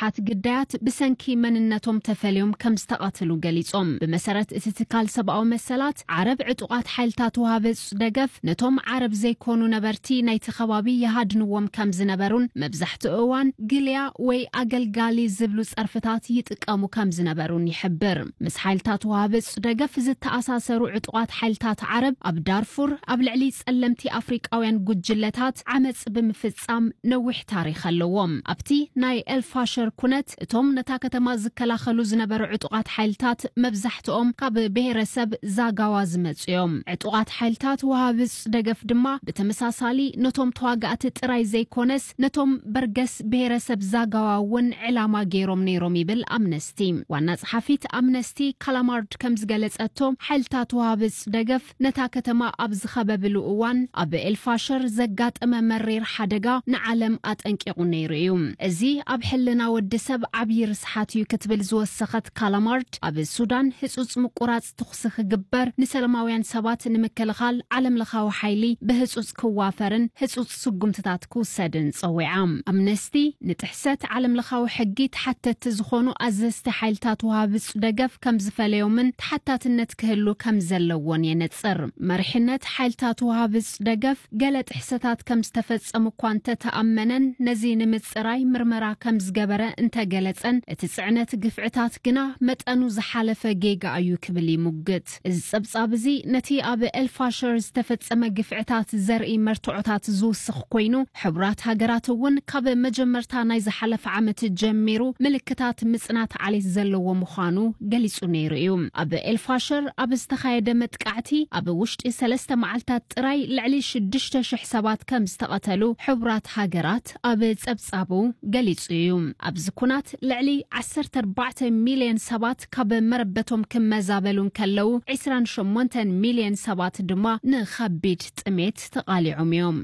ብዙሓት ግዳያት ብሰንኪ መንነቶም ተፈልዮም ከም ዝተቐትሉ ገሊጾም። ብመሰረት እቲ ትካል ሰብኣዊ መሰላት ዓረብ፣ ዕጡቓት ሓይልታት ውሃብጽ ደገፍ ነቶም ዓረብ ዘይኮኑ ነበርቲ ናይቲ ከባቢ ይሃድንዎም ከም ዝነበሩን መብዛሕትኡ እዋን ግልያ ወይ ኣገልጋሊ ዝብሉ ጸርፍታት ይጥቀሙ ከም ዝነበሩን ይሕብር። ምስ ሓይልታት ውሃብጽ ደገፍ ዝተኣሳሰሩ ዕጡቓት ሓይልታት ዓረብ ኣብ ዳርፉር ኣብ ልዕሊ ጸለምቲ ኣፍሪቃውያን ጉጅለታት ዓመጽ ብምፍጻም ነዊሕ ታሪኽ ኣለዎም። ኣብቲ ናይ ኤልፋሸር ኩነት እቶም ነታ ከተማ ዝከላኸሉ ዝነበሩ ዕጡቓት ሓይልታት መብዛሕትኦም ካብ ብሔረሰብ ዛጋዋ ዝመጹ እዮም። ዕጡቓት ሓይልታት ውሃብጽ ደገፍ ድማ ብተመሳሳሊ ነቶም ተዋጋእቲ ጥራይ ዘይኮነስ ነቶም በርገስ ብሔረሰብ ዛጋዋ እውን ዕላማ ገይሮም ነይሮም ይብል ኣምነስቲ። ዋና ጸሓፊት ኣምነስቲ ካላማርድ ከም ዝገለጸቶ፣ ሓይልታት ውሃብጽ ደገፍ ነታ ከተማ ኣብ ዝኸበብሉ እዋን ኣብ ኤልፋሸር ዘጋጠመ መሪር ሓደጋ ንዓለም ኣጠንቂቑ ነይሩ እዩ። እዚ ኣብ ሕልና ወዲ ሰብ ዓብዪ ርስሓት እዩ ክትብል ዝወሰኸት ካላማርድ፣ ኣብ ሱዳን ህጹጽ ምቁራጽ ተኹሲ ክግበር፣ ንሰላማውያን ሰባት ንምክልኻል ዓለም ለኻዊ ሓይሊ ብህጹጽ ክዋፈርን ህጹጽ ስጉምትታት ክውሰድን ጸዊዓ። ኣምነስቲ ንጥሕሰት ዓለም ለኻዊ ሕጊ ተሓተትቲ ዝኾኑ ኣዘዝቲ ሓይልታት ውሃብጽ ደገፍ ከም ዝፈለዮምን ተሓታትነት ክህሉ ከም ዘለዎን የነጽር። መሪሕነት ሓይልታት ውሃብጽ ደገፍ ገለ ጥሕሰታት ከም ዝተፈጸሙ እኳ እንተተኣመነን፣ ነዚ ንምጽራይ ምርመራ ከም ዝገበረ እንተገለጸን፣ እቲ ጽዕነት ግፍዕታት ግና መጠኑ ዝሓለፈ ጌጋ እዩ ክብል ይሙግት። እዚ ጸብጻብ እዚ ነቲ ኣብ ኤልፋሸር ዝተፈጸመ ግፍዕታት ዘርኢ መርትዖታት ዝውስኽ ኮይኑ፣ ሕቡራት ሃገራት እውን ካብ መጀመርታ ናይ ዝሓለፈ ዓመት ጀሚሩ ምልክታት ምጽናት ዓሌት ዘለዎ ምዃኑ ገሊጹ ነይሩ እዩ። ኣብ ኤልፋሸር ኣብ ዝተኻየደ መጥቃዕቲ ኣብ ውሽጢ ሰለስተ መዓልታት ጥራይ ልዕሊ ሽዱሽተ ሽሕ ሰባት ከም ዝተቐተሉ ሕቡራት ሃገራት ኣብ ጸብጻቡ ገሊጹ እዩ። ኣብዚ ኩናት ልዕሊ ዓሰርተ ኣርባዕተ ሚልዮን ሰባት ካብ መረበቶም ክመዛበሉ እንከለዉ፣ ዕስራን ሸሞንተን ሚልዮን ሰባት ድማ ንኸቢድ ጥሜት ተቓሊዖም እዮም።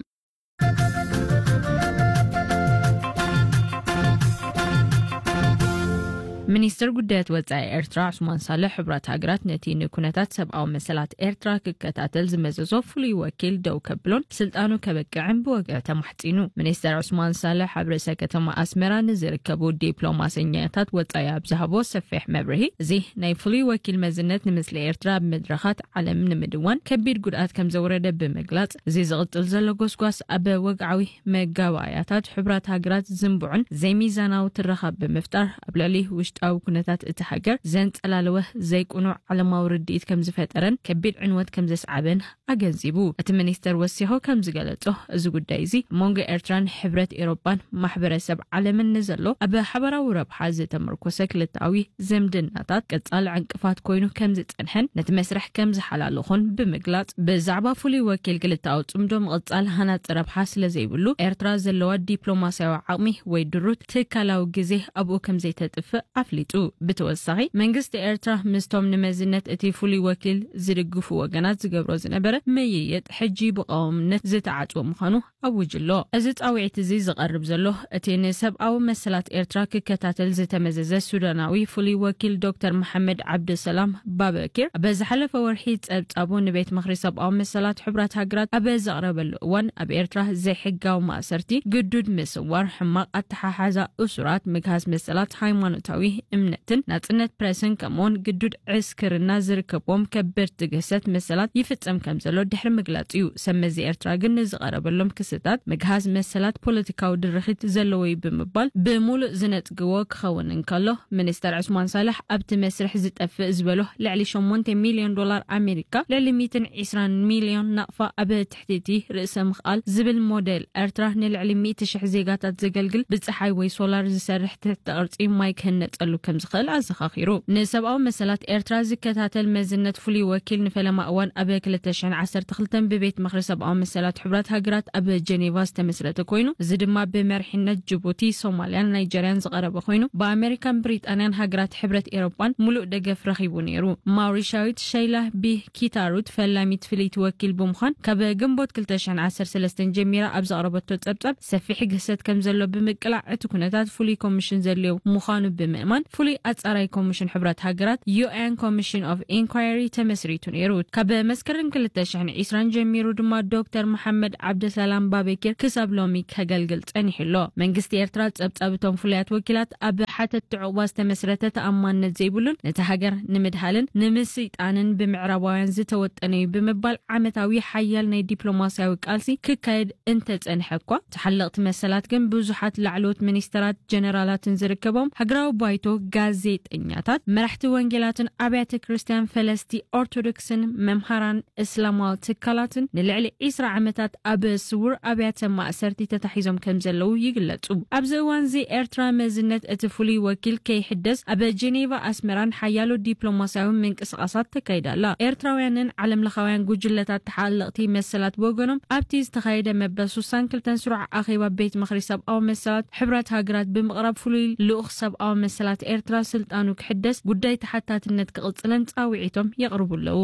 ሚኒስትር ጉዳያት ወጻኢ ኤርትራ ዑስማን ሳልሕ፣ ሕቡራት ሃገራት ነቲ ንኩነታት ሰብኣዊ መሰላት ኤርትራ ክከታተል ዝመዘዞ ፍሉይ ወኪል ደው ከብሎን ስልጣኑ ከበቅዕን ብወግዒ ተማሕጺኑ። ሚኒስተር ዑስማን ሳልሕ ኣብ ርእሰ ከተማ ኣስመራ ንዝርከቡ ዲፕሎማሰኛታት ወጻኢ ኣብ ዝሃቦ ሰፊሕ መብርሂ፣ እዚ ናይ ፍሉይ ወኪል መዝነት ንምስሊ ኤርትራ ኣብ መድረኻት ዓለም ንምድዋን ከቢድ ጉድኣት ከም ዘውረደ ብምግላጽ፣ እዚ ዝቕጽል ዘሎ ጎስጓስ ኣብ ወግዓዊ መጋባእያታት ሕቡራት ሃገራት ዝንቡዕን ዘይሚዛናዊ ትረኻ ብምፍጣር፣ ኣብ ልዕሊ ውሽጣዊ ኩነታት እቲ ሃገር ዘንጸላለወ ዘይቅኑዕ ዓለማዊ ርድኢት ከም ዝፈጠረን ከቢድ ዕንወት ከም ዘስዓበን ኣገንዚቡ። እቲ ሚኒስተር ወሲኹ ከም ዝገለጾ፣ እዚ ጉዳይ እዚ ኣብ መንጎ ኤርትራን ሕብረት ኤውሮጳን ማሕበረሰብ ዓለምን ንዘሎ ኣብ ሓበራዊ ረብሓ ዝተመርኮሰ ክልተኣዊ ዝምድናታት ቀጻሊ ዕንቅፋት ኮይኑ ከም ዝጸንሐን ነቲ መስርሕ ከም ዝሓላለኹን ብምግላጽ፣ ብዛዕባ ፍሉይ ወኪል ክልተኣዊ ጽምዶ ምቕጻል ሃናጺ ረብሓ ስለ ዘይብሉ፣ ኤርትራ ዘለዋ ዲፕሎማስያዊ ዓቕሚ ወይ ድሩት ትካላዊ ግዜ ኣብኡ ከም ዘይተጥፍእ ኣፍሊጡ። ብተወሳኺ፣ መንግስቲ ኤርትራ ምስቶም ንመዝነት እቲ ፍሉይ ወኪል ዝድግፉ ወገናት ዝገብሮ ዝነበረ ምይይጥ ሕጂ ብቐዋምነት ዝተዓጽወ ምዃኑ ኣውጅ ኣሎ። እዚ ጻውዒት እዚ ዝቐርብ ዘሎ፣ እቲ ንሰብኣዊ መሰላት ኤርትራ ክከታተል ዝተመዘዘ ሱዳናዊ ፍሉይ ወኪል ዶክተር መሓመድ ዓብደሰላም ባበኪር፣ ኣብ ዝሓለፈ ወርሒ ጸብጻቡ ንቤት ምኽሪ ሰብኣዊ መሰላት ሕቡራት ሃገራት ኣብ ዘቕረበሉ እዋን፣ ኣብ ኤርትራ ዘይሕጋዊ ማእሰርቲ፣ ግዱድ ምስዋር፣ ሕማቕ ኣተሓሓዛ እሱራት፣ ምግሃስ መሰላት ሃይማኖታዊ እምነትን ናጽነት ፕረስን፣ ከምኡውን ግዱድ ዕስክርና ዝርከብዎም ከበድቲ ግህሰት መሰላት ይፍጸም ከም ዘሎ ድሕሪ ምግላጽ እዩ። ሰብ መዚ ኤርትራ ግን ንዝቐረበሎም ክስታት ምግሃስ መሰላት ፖለቲካዊ ድርኺት ዘለዎ እዩ ብምባል ብምሉእ ዝነጽግዎ ክኸውን እንከሎ፣ ሚኒስተር ዑስማን ሳልሕ ኣብቲ መስርሕ ዝጠፍእ ዝበሎ ልዕሊ ሸሞንተ ሚልዮን ዶላር ኣሜሪካ፣ ልዕሊ ሚእትን ዕስራን ሚልዮን ናቕፋ ኣብ ትሕቲ እቲ ርእሰ ምኽኣል ዝብል ሞዴል ኤርትራ ንልዕሊ ሚእቲ ሽሕ ዜጋታት ዘገልግል ብጸሓይ ወይ ሶላር ዝሰርሕ ትሕቲ ቅርጺ ማይ ክህነጸሉ ከም ዝኽእል ኣዘኻኺሩ። ንሰብኣዊ መሰላት ኤርትራ ዝከታተል መዝነት ፍሉይ ወኪል ንፈለማ እዋን ኣብ ክልተ ሽሕን ዓሰርተ ክልተን ብቤት ምኽሪ ሰብኣዊ መሰላት ሕቡራት ሃገራት ኣብ ጀኔቫ ዝተመስረተ ኮይኑ፣ እዚ ድማ ብመሪሕነት ጅቡቲ፣ ሶማልያን ናይጀርያን ዝቐረበ ኮይኑ፣ ብኣሜሪካን ብሪጣንያን ሃገራት ሕብረት ኤውሮጳን ምሉእ ደገፍ ረኺቡ ነይሩ። ማውሪሻዊት ሸይላ ቢ ኪታሩት ፈላሚት ፍልይቲ ወኪል ብምዃን፣ ካብ ግንቦት ክልተ ሽሕን ዓሰርተ ሰለስተን ጀሚራ ኣብ ዘቕረበቶ ጸብጻብ፣ ሰፊሕ ግህሰት ከም ዘሎ ብምቅላዕ፣ እቲ ኩነታት ፍሉይ ኮሚሽን ዘድልዮ ምዃኑ ብምእማን፣ ፍሉይ ኣጻራይ ኮሚሽን ሕብረት ሃገራት፣ ዩ ኤን ኮሚሽን ኦፍ ኢንኳየሪ፣ ተመስሪቱ ነይሩ። ካብ መስከረም ክልተ ሽሕን ዕስራን ጀሚሩ ድማ ዶክተር መሓመድ ዓብደሰላም ባቤኪር ክሳብ ሎሚ ከገልግል ጸኒሑ ኣሎ። መንግስቲ ኤርትራ ጸብጻብ እቶም ፍሉያት ወኪላት ኣብ ሓተትቲ ዕቑባ ዝተመስረተ ተኣማንነት ዘይብሉን ነቲ ሃገር ንምድሃልን ንምስይጣንን ብምዕራባውያን ዝተወጠነ እዩ ብምባል ዓመታዊ ሓያል ናይ ዲፕሎማስያዊ ቃልሲ ክካየድ እንተጸንሐ እኳ፣ ተሓለቕቲ መሰላት ግን ብዙሓት ላዕለዎት ሚኒስተራት ጀነራላትን ዝርከቦም ሃገራዊ ባይቶ፣ ጋዜጠኛታት፣ መራሕቲ ወንጌላትን ኣብያተ ክርስቲያን ፈለስቲ ኦርቶዶክስን መምሃራን እስላማዊ ትካላትን ንልዕሊ ዕስራ ዓመታት ኣብ ስውር ኣብያተ ማእሰርቲ ተታሒዞም ከም ዘለዉ ይግለጹ። ኣብዚ እዋንዚ ኤርትራ መዝነት እቲ ፍሉይ ወኪል ከይሕደስ ኣብ ጀኔቫ ኣስመራን ሓያሎ ዲፕሎማስያዊ ምንቅስቓሳት ተካይዳ ኣላ። ኤርትራውያንን ዓለምለኻውያን ጉጅለታት ተሓለቕቲ መሰላት ብወገኖም ኣብቲ ዝተኻየደ መበል ስሳን ክልተን ስሩዕ ኣኼባ ቤት ምኽሪ ሰብኣዊ መሰላት ሕብረት ሃገራት ብምቕራብ ፍሉይ ልኡኽ ሰብኣዊ መሰላት ኤርትራ ስልጣኑ ክሕደስ ጉዳይ ተሓታትነት ክቕጽልን ጻውዒቶም የቕርቡ ኣለዉ።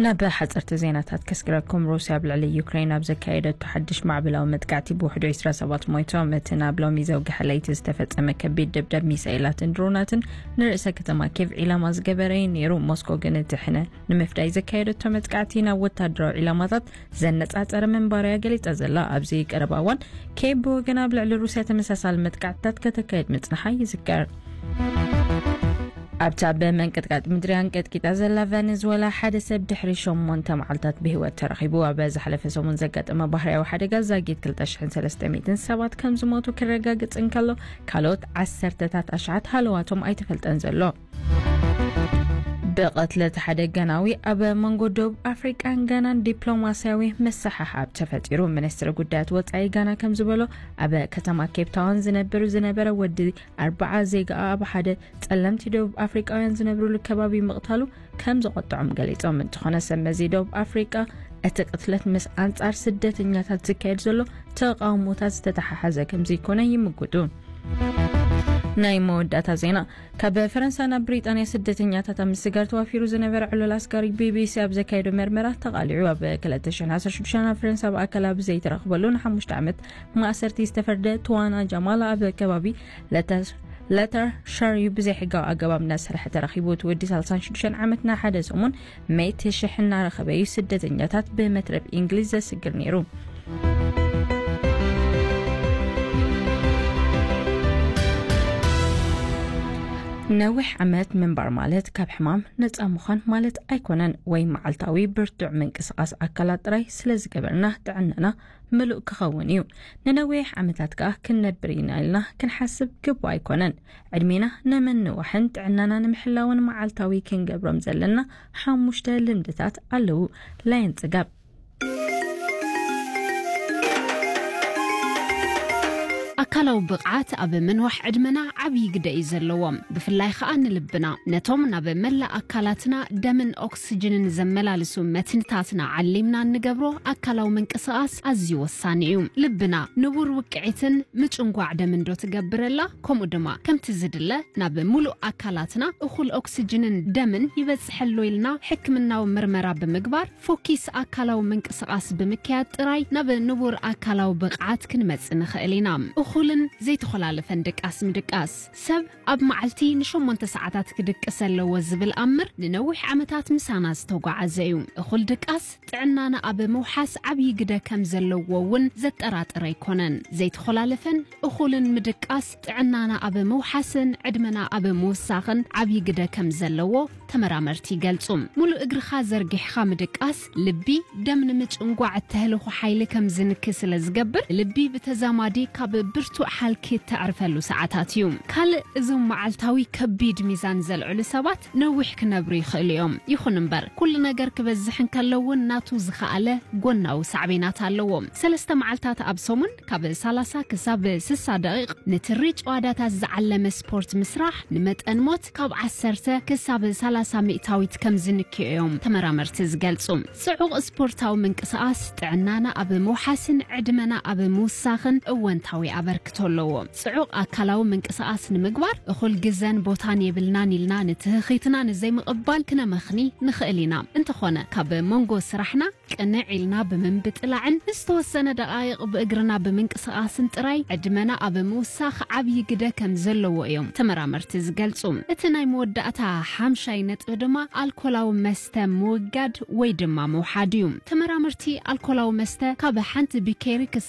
ናብ ሓፀርቲ ዜናታት ከስግረኩም። ሩስያ ኣብ ልዕሊ ዩክሬን ኣብ ዘካየደቶ ሓድሽ ማዕበላዊ መጥቃዕቲ ብውሕዱ ዕስራ ሰባት ሞይቶም። እቲ ናብ ሎሚ ዘውግሐ ለይቲ ዝተፈጸመ ከቢድ ደብደብ ሚሳኤላትን ድሮናትን ንርእሰ ከተማ ኬቭ ዒላማ ዝገበረ እዩ ነይሩ። ሞስኮ ግን እቲ ሕነ ንምፍዳይ ዘካየደቶ መጥቃዕቲ ናብ ወታደራዊ ዒላማታት ዘነጻጸረ ምንባሩ እያ ገሊጻ ዘላ። ኣብዚ ቀረባ እዋን ኬቭ ብወገና ኣብ ልዕሊ ሩስያ ተመሳሳሊ መጥቃዕትታት ከተካየድ ምጽንሓ ይዝከር። ኣብታ ብመንቀጥቀጥ ምድሪ ኣንቀጥቂጣ ዘላ ቨነዝወላ ሓደ ሰብ ድሕሪ ሸሞንተ መዓልታት ብህይወት ተረኺቡ። ኣብ ዝሓለፈ ሰሙን ዘጋጠመ ባህርያዊ ሓደጋ ዛጊት ክልተ ሽሕን ሰለስተ ሚእትን ሰባት ከም ዝሞቱ ክረጋግጽ እንከሎ፣ ካልኦት ዓሰርተታት ኣሽሓት ሃለዋቶም ኣይተፈልጠን ዘሎ። ብቐትለት ሓደ ጋናዊ ኣብ መንጎ ደቡብ ኣፍሪቃን ጋናን ዲፕሎማስያዊ ምስሕሓብ ተፈጢሩ። ሚኒስትሪ ጉዳያት ወጻኢ ጋና ከም ዝበሎ፣ ኣብ ከተማ ኬፕ ታውን ዝነብር ዝነበረ ወዲ ኣርብዓ ዜጋኣ ኣብ ሓደ ጸለምቲ ደቡብ ኣፍሪቃውያን ዝነብሩሉ ከባቢ ምቕታሉ ከም ዘቖጥዖም ገሊጾም። እንተኾነ፣ ሰብ መዚ ደቡብ ኣፍሪቃ እቲ ቅትለት ምስ ኣንጻር ስደተኛታት ዝካየድ ዘሎ ተቓውሞታት ዝተተሓሓዘ ከም ዘይኮነ ይምጉቱ። ናይ መወዳእታ ዜና። ካብ ፈረንሳ ናብ ብሪጣንያ ስደተኛታት ኣብ ምስጋር ተዋፊሩ ዝነበረ ዕሉል ኣስጋሪ ቢቢሲ ኣብ ዘካየዶ መርመራ ተቓሊዑ። ኣብ ክልተ ሽሕን ዓሰርተ ሽዱሽተን ኣብ ፈረንሳ ብኣካል ኣብ ዘይተረኽበሉ ንሓሙሽተ ዓመት ማእሰርቲ ዝተፈርደ ትዋና ጃማል ኣብ ከባቢ ለተር-፣ ለተርሸርዩ ብዘይሕጋዊ ኣገባብ እናሰርሐ ተረኺቡ። እቲ ወዲ ሰላሳን ሽዱሽተን ዓመት ንሓደ ሰሙን ሜት ሽሕ እናረኸበ እዩ ስደተኛታት ብመትረብ እንግሊዝ ዘስግር ነይሩ። ነዊሕ ዓመት ምንባር ማለት ካብ ሕማም ነጻ ምዃን ማለት ኣይኮነን፣ ወይ መዓልታዊ ብርቱዕ ምንቅስቓስ ኣካላት ጥራይ ስለ ዝገበርና ጥዕናና ምሉእ ክኸውን እዩ። ንነዊሕ ዓመታት ከኣ ክንነብር ኢና ኢልና ክንሓስብ ግቡእ ኣይኮነን። ዕድሜና ንምንዋሕን ጥዕናና ንምሕላውን መዓልታዊ ክንገብሮም ዘለና ሓሙሽተ ልምድታት ኣለዉ። ላየን ጽጋብ። ኣካላዊ ብቕዓት ኣብ ምንዋሕ ዕድመና ዓብዪ ግደ እዩ ዘለዎም፣ ብፍላይ ኸኣ ንልብና። ነቶም ናብ መላእ ኣካላትና ደምን ኦክስጅንን ዘመላልሱ መትንታትና ዓሊምና እንገብሮ ኣካላዊ ምንቅስቓስ ኣዝዩ ወሳኒ እዩ። ልብና ንቡር ውቅዒትን ምጭንጓዕ ደምን ዶ ትገብረላ? ከምኡ ድማ ከምቲ ዝድለ ናብ ምሉእ ኣካላትና እኹል ኦክስጅንን ደምን ይበጽሐሎ ኢልና ሕክምናዊ ምርመራ ብምግባር፣ ፎኪስ ኣካላዊ ምንቅስቓስ ብምክያድ ጥራይ ናብ ንቡር ኣካላዊ ብቕዓት ክንመጽእ ንኽእል ኢና። እኹልን ዘይተኾላለፈን ድቃስ ምድቃስ። ሰብ ኣብ መዓልቲ ንሸሞንተ ሰዓታት ክድቅስ ኣለዎ ዝብል ኣምር ንነዊሕ ዓመታት ምሳና ዝተጓዓዘ እዩ። እኹል ድቃስ ጥዕናና ኣብ ምውሓስ ዓብዪ ግደ ከም ዘለዎ እውን ዘጠራጥር ኣይኮነን። ዘይተኾላለፈን እኹልን ምድቃስ ጥዕናና ኣብ ምውሓስን ዕድመና ኣብ ምውሳኽን ዓብዪ ግደ ከም ዘለዎ ተመራመርቲ ይገልጹ። ሙሉእ እግርኻ ዘርጊሕኻ ምድቃስ ልቢ፣ ደም ንምጭንጓዕ እተህልኹ ሓይሊ ከም ዝንኪ ስለ ዝገብር፣ ልቢ ብተዛማዲ ካብ ብርቱዕ ሃልኪ እተዕርፈሉ ሰዓታት እዩ። ካልእ እዞም መዓልታዊ ከቢድ ሚዛን ዘልዕሉ ሰባት ነዊሕ ክነብሩ ይኽእሉ እዮም። ይኹን እምበር፣ ኩሉ ነገር ክበዝሕ እንከሎ እውን ናቱ ዝኸኣለ ጎናዊ ሳዕቤናት ኣለዎ። ሰለስተ መዓልታት ኣብ ሰሙን ካብ ሰላሳ ክሳብ ስሳ ደቂቕ ንትሪ ጨዋዳታት ዝዓለመ ስፖርት ምስራሕ፣ ንመጠን ሞት ካብ ዓሰርተ ክሳብ ሰላሳ ሰላሳ ሚእታዊት ከም ዝንክዮ እዮም ተመራመርቲ ዝገልጹ። ጽዑቕ ስፖርታዊ ምንቅስቓስ ጥዕናና ኣብ ምውሓስን ዕድመና ኣብ ምውሳኽን እወንታዊ ኣበርክቶ ኣለዎ። ጽዑቕ ኣካላዊ ምንቅስቓስ ንምግባር እኹል ግዘን ቦታን የብልናን ኢልና ንትህኺትና ንዘይምቕባል ክነመኽኒ ንኽእል ኢና። እንተኾነ ካብ መንጎ ስራሕና ቅንዕ ኢልና ብምንብጥላዕን ዝተወሰነ ደቓይቕ ብእግርና ብምንቅስቓስን ጥራይ ዕድመና ኣብ ምውሳኽ ዓብዪ ግደ ከም ዘለዎ እዮም ተመራመርቲ ዝገልጹ። እቲ ናይ መወዳእታ ሓምሻይ ነጥቢ ድማ ኣልኮላዊ መስተ ምውጋድ ወይ ድማ ምውሓድ እዩ። ተመራመርቲ ኣልኮላዊ መስተ ካብ ሓንቲ ቢኬሪ ክሳብ